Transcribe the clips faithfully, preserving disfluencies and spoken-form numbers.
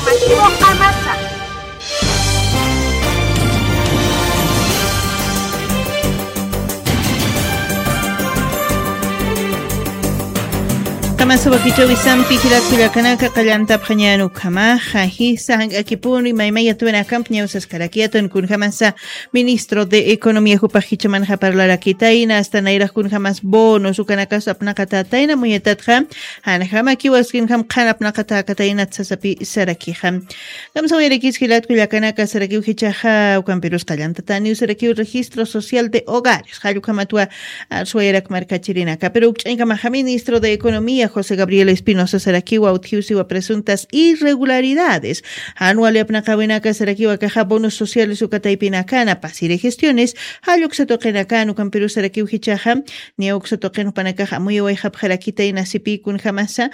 Uqamasa. Kamasa wakichawi sampi jilat kullakanaka qallantapxañan ukhamaxa jisa jank'akipuni maymaya tuwinakamp ñawsaskarakiyatan kunjamasa ministro de economía jupax jichamanxa parlarakitayna asta nayraq kunjamas bonos ukanakas apnaqatatayna muyatatxa janjamakiwaskinjam qhan apnaqatakatayna sasapi sarakixa. Kamsawayarakis jilat kullakanaka sarakiw jichaxa ukampirus qallantataniw sarakiw registro social de hogares jallukhamatwa arsuwayarak markachirinaka pero ukch'añkamaxa ministro de economía josé gabriel espinosa sarakiwa utjiwsiwa presuntas irregularidades jan wali apnaqawinaka sarakiwa kaxa bonos sociales ukataypinakana pasiri gestiones jalluksa tuqinakan ukampirus sarakiw jichaxa niya uksa tuqin jupanakax amuyawayxapxarakitayna sipï kunjamasa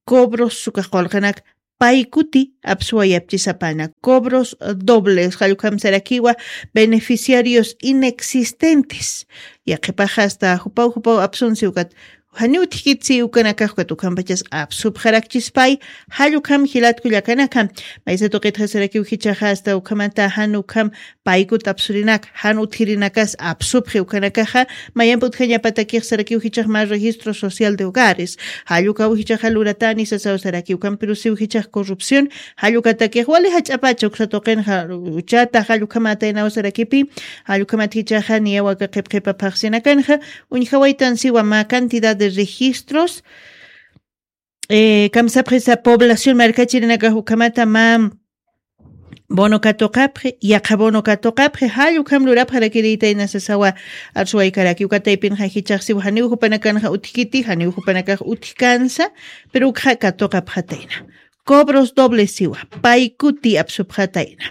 cobros ukax qulqanak paykuti apsuwayapchisapana cobros dobles jallukhamsarakiwa beneficiarios inexistentes yaqhipaxa asta jupaw jupaw apsunsi ukat janiw utjkitsi ukanakax ukat ukhampachas apsupxarakchispay jallukam jilat kullakanaka maysa tuqitxasarakiw jichaxa asta ukhamata jan ukham paykut apsurinak jan utjirinakas apsupxi ukanakaxa mayamp utjañapatakix sarakiw jichax mä registro social de hogares jallukaw jichaxa luratani sasaw sarakiw kampirusiw jichax corrupción jallukatakix wali jach'apacha uksa tuqinxa uchata jallukhamataynaw sarakipi jallukhamat jichaxa niyaw aka qhipqhipa phaxsinakanxa uñjawaytansiwa mä cantidad de registros kamsapxisa población markachirinakax ukhamata mä bono katuqapxi yaqha bono katuqapxi jall ukham lurapxarakiriytayna sasawa arsuwaykaraki ukataypinxa jichaxsiw janiw jupanakanxa utjkiti janiw jupanakax utjkansa pero ukxa katuqapxatayna cobros dobles siwa paykuti apsupxatayna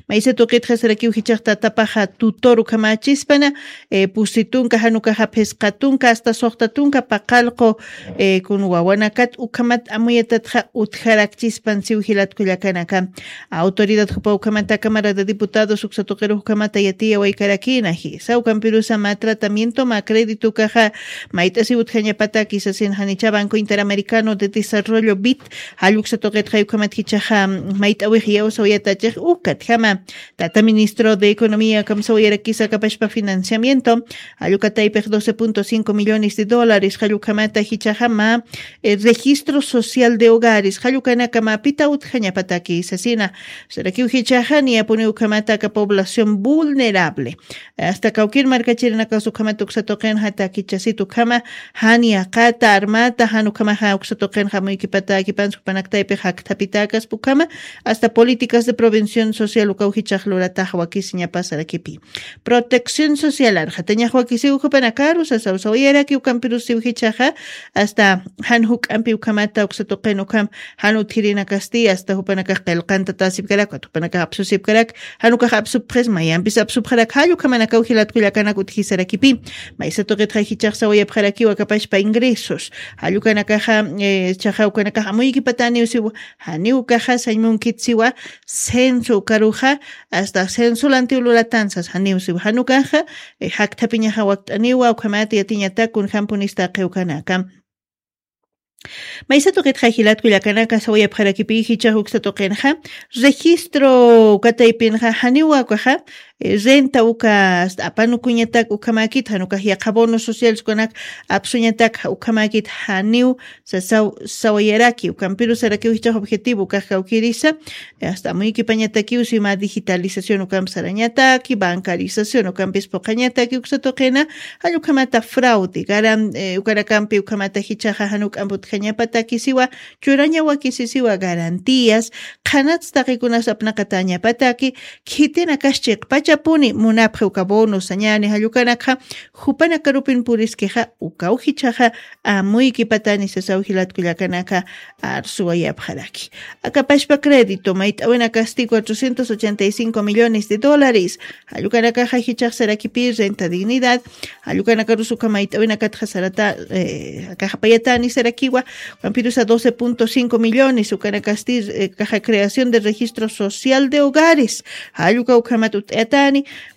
maysa tuqitxasarakiw jichaxtatapaxa tutor ukhamächispana pusi tunka jan ukaxa phisqa tunka asta suxta tunka paqallqu kun wawanakat ukhamat amuyatatxa utjarakchispan siw jilat kullakanaka autoridad jupa ukhamata cámara de diputados uksa tuqiru ukhamata yatiyawaykarakïna jisa ukampirusa mä tratamiento mä crédito ukaxa mayt'asiw utjañapataki sasin janicha banco interamericano de desarrollo bit jall uksa tuqitxay ukhamat jichaxa mayt'awix iyawsawayatachix ukatjama tata ministro de economía kamsawayarakisa kapashpa financiamiento jall ukataypix doce punto cinco millones de dólares jall ukhamata jichaxa mä registro social de hogares jall ukanaka mä pita utjañapataki sasina sarakiw jichaxa niyapuni ukhamata aka población vulnerable asta kawkir markachirinakas ukhamat uksa tuqinxa takichasit ukhama jan yaqata armata jan ukhamaxa uksa tuqinxa amuykipatakipansa jupanaktaypix jakthapitakas ukhama asta políticas de prevención social ukaw jichax luratax wakisiñapasarakipi protección social arxatañax wakisiw jupanakaru sasaw sawayaraki ukampirusiw jichaxa asta jan juk'ampi ukhamata uksa tuqin ukham jan utjirinakasti asta jupanakax qillqantatasipkarak jupanakax apsusipkarak jan ukax apsupxis mayampis apsupxarak jall ukhamanakaw jilat kullakanak utjisarakipi maysa tuqitxa jichax sawayapxarakiw akapashpa ingresos jall ukanakaxa chaxa ukanakax amuykipataniw siw janiw ukaxa sañ munkit siwa censo ukaruxa asta censo lantiw luratansas janiw siw jan ukaxa jakthapiñaxa wakt'aniwa ukhamat yatiñatak kunjampunista qiwkanaka maysa tuqitxa jilat kullakanaka sawayapxarakipi jichax uksa tuqinxa registro ukataypinxa janiwa ukaxa renta uka asta apanukuñatak ukhamäkit jan ukax yaqha bonos sociales ukanak apsuñatak ukhamäkit janiw sasaw sawayaraki ukampiru sarakiw jichax objetivo ukax kawkirisa asta amuykipañatakiw sima digitalización ukamp sarañataki bancarización ukampis puqañataki uksa tuqina jall ukhamata fraude garan ukanakampi ukhamata jichaxa jan uk'amp utjañapataki siwa churaña wakisisiwa garantías qhanats taqikunas apnaqatañapataki khitinakas chiqpachapuni munapxi uka bono sañani jall ukanakxa jupanakarupin puriskixa ukaw jichaxa amuykipatani sasaw jilat kullakanaka arsuwayapxaraki akapashpa crédito mayt'awinakasti cuatrocientos ochenta y cinco millones de dólares jall ukanakaxa jichax sarakipi renta dignidad jall ukanakarus ukha mayt'awinakatxa sarata akaxapayatani sarakiwa ukampirusa doce punto cinco millones ukanakasti kaxa creación de registro social de hogares jall uka ukhamat ut'ayata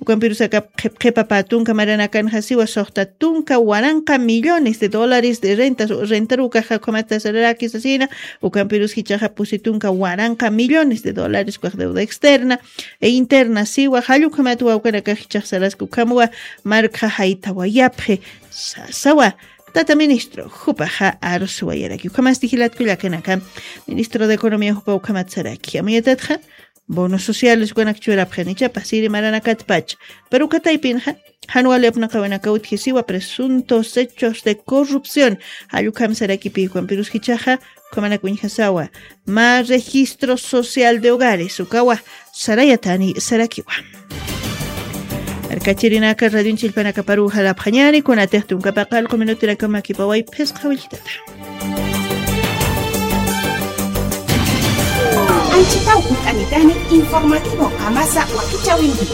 Ukampirus aka qhip qhipa pä tunka maranakanxa siwa suxta tunka waranqa millones de dólares de rentas, rentarukaxa ukhamata sararaki sasina, ukampirus jichhaxa pusi tunka waranqa millones de dólares ukax deuda externa e interna siwa, jall ukhamata wawkanakax jichhax saraski ukhamwa markxa jaytawayapxi sasawa. Tata ministro, jupaxa arusuwayaraki. Ukhamasti jilatkullakanaka, ministro de Economía jupa ukhamat saraki. Amuyatatxa, bonos sociales ukanak churapxani, ichapa siri maranakatpacha. Pero uka taypinxa, jan wali apnaqawanaka utjisiwa presuntos hechos de corrupción. Jall ukham sarakipi, ukampirus jichhaxa, ukhamanak uñjasawa. Mä registro social de hogares, ukawa, sarayatani, sarakiwa. Arkachirinaka, radion chillpanakaparu jalapxañani, kunatix tunka paqallqu minutinakama kipaway phisqa willtata. Anchitaw utanitani informativo Qamasa wakichawinti.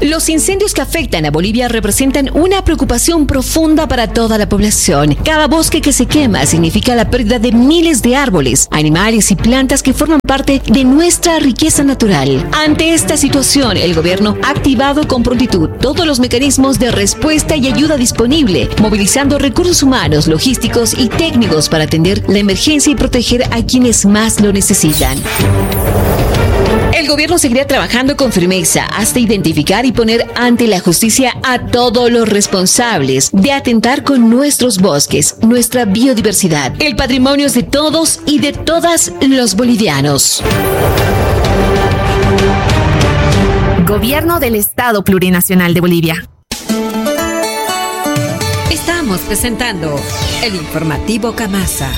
Los incendios que afectan a Bolivia representan una preocupación profunda para toda la población. Cada bosque que se quema significa la pérdida de miles de árboles, animales y plantas que forman parte de nuestra riqueza natural. Ante esta situación, el gobierno ha activado con prontitud todos los mecanismos de respuesta y ayuda disponible, movilizando recursos humanos, logísticos y técnicos para atender la emergencia y proteger a quienes más lo necesitan. El gobierno seguirá trabajando con firmeza hasta identificar y poner ante la justicia a todos los responsables de atentar con nuestros bosques, nuestra biodiversidad, el patrimonio de todos y de todas los bolivianos. Gobierno del Estado Plurinacional de Bolivia. Estamos presentando el informativo Qamasa.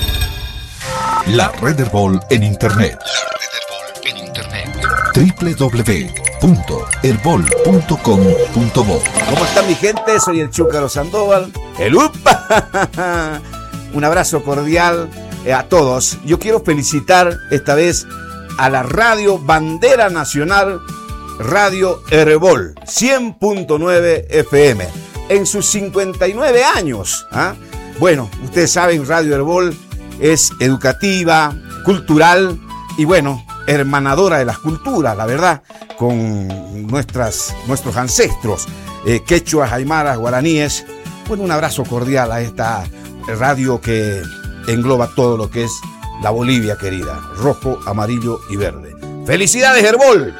La Red Erbol en Internet. La Red Erbol en Internet. W W W punto erbol punto com punto bo. ¿Cómo está mi gente? Soy el Chúcaro Sandoval. El upa. Un abrazo cordial, eh, a todos. Yo quiero felicitar esta vez a la Radio Bandera Nacional, Radio Erbol, cien punto nueve F M, en sus cincuenta y nueve años, ¿ah? Bueno, ustedes saben, Radio Erbol es educativa, cultural y, bueno, hermanadora de las culturas, la verdad, con nuestras, nuestros ancestros, eh, quechuas, aymaras, guaraníes. Bueno, un abrazo cordial a esta radio que engloba todo lo que es la Bolivia querida, rojo, amarillo y verde. ¡Felicidades, Erbol!